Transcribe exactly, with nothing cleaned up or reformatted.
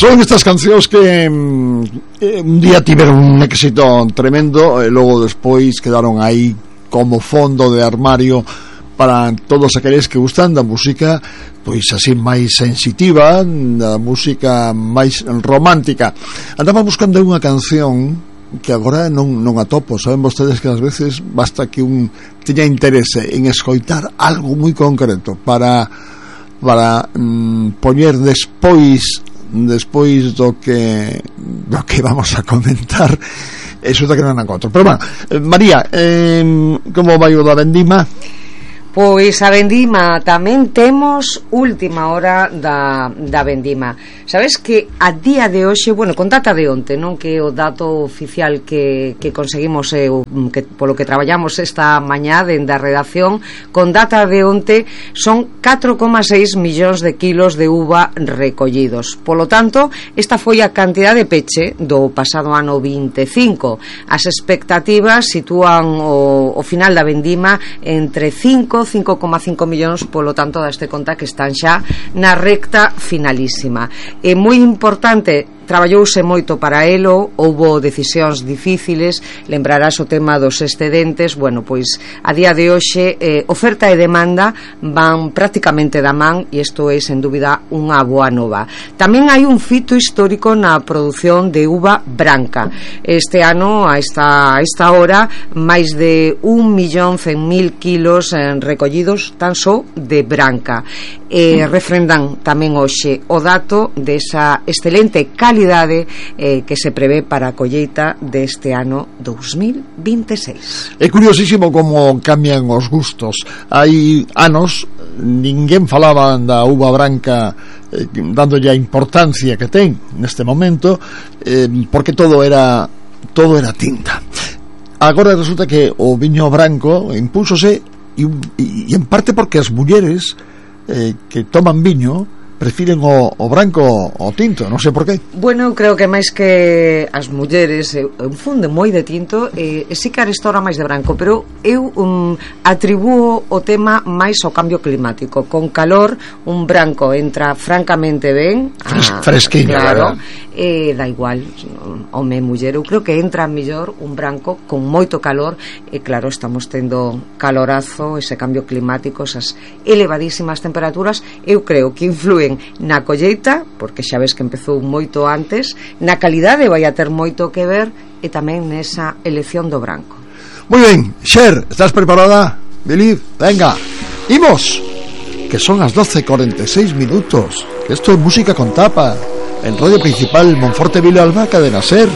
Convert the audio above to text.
Son estas cancións que eh, un día tiveron un éxito tremendo e logo despois quedaron aí como fondo de armario para todos aqueles que gustan da música pois así máis sensitiva, da música máis romántica. Andaba buscando unha canción que agora non, non atopo. Saben vostedes que ás veces basta que un teña interese en escoitar algo moi concreto para para mm, poñer despois despois do que do que vamos a comentar, eso da que non encontro. Pero bueno, eh, María, eh, como vai o da vendima? Pois a vendima tamén temos última hora da, da vendima. Sabes que a día de hoxe, bueno, con data de onte, non que o dato oficial que, que conseguimos eh, que, polo que traballamos esta mañá dende a redacción, con data de onte son catro coma seis millóns de kilos de uva recollidos. Polo tanto, esta foi a cantidad de peche do pasado ano vinte e cinco. As expectativas sitúan o, o final da vendima entre cinco coma cinco millóns, polo tanto daste conta que están xa na recta finalísima. É moi importante, traballouse moito para elo, houbo decisións difíciles, lembrarás o tema dos excedentes. Bueno, pois a día de hoxe eh, oferta e demanda van prácticamente da man e isto é sen dúbida unha boa nova. Tamén hai un fito histórico na produción de uva branca. Este ano, a esta, a esta hora, máis de un millón cen mil kilos en recollidos tan só de branca. Eh, refrendan tamén hoxe o dato desa excelente calidade eh, que se prevé para a colleita deste ano dous mil vinte e seis. É curiosísimo como cambian os gustos. Hai anos ninguén falaba da uva branca eh, dándolle a importancia que ten neste momento, eh, porque todo era todo era tinta. Agora resulta que o viño branco impúsose e, e, e en parte porque as mulleres eh, que toman viño prefiren o, o branco o tinto, non sei por qué. Bueno, eu creo que máis que as mulleres eu, eu funde moi de tinto e, e si que arestora máis de branco, pero eu um, atribúo o tema máis ao cambio climático. Con calor un branco entra francamente ben, Fres, ah, fresquinho, claro, e dá igual home e muller. Eu creo que entra mellor un branco con moito calor e claro, estamos tendo calorazo, ese cambio climático, esas elevadísimas temperaturas, eu creo que influen na colleita, porque xa ves que empezou moito antes, na calidade vai a ter moito que ver e tamén nesa elección do branco. Moi ben, Xer, estás preparada? Believe, venga, imos, que son as doce e cuarenta e seis minutos, que isto é música con tapa, en Radio Principal Monforte Vila Alba, Cadena Ser.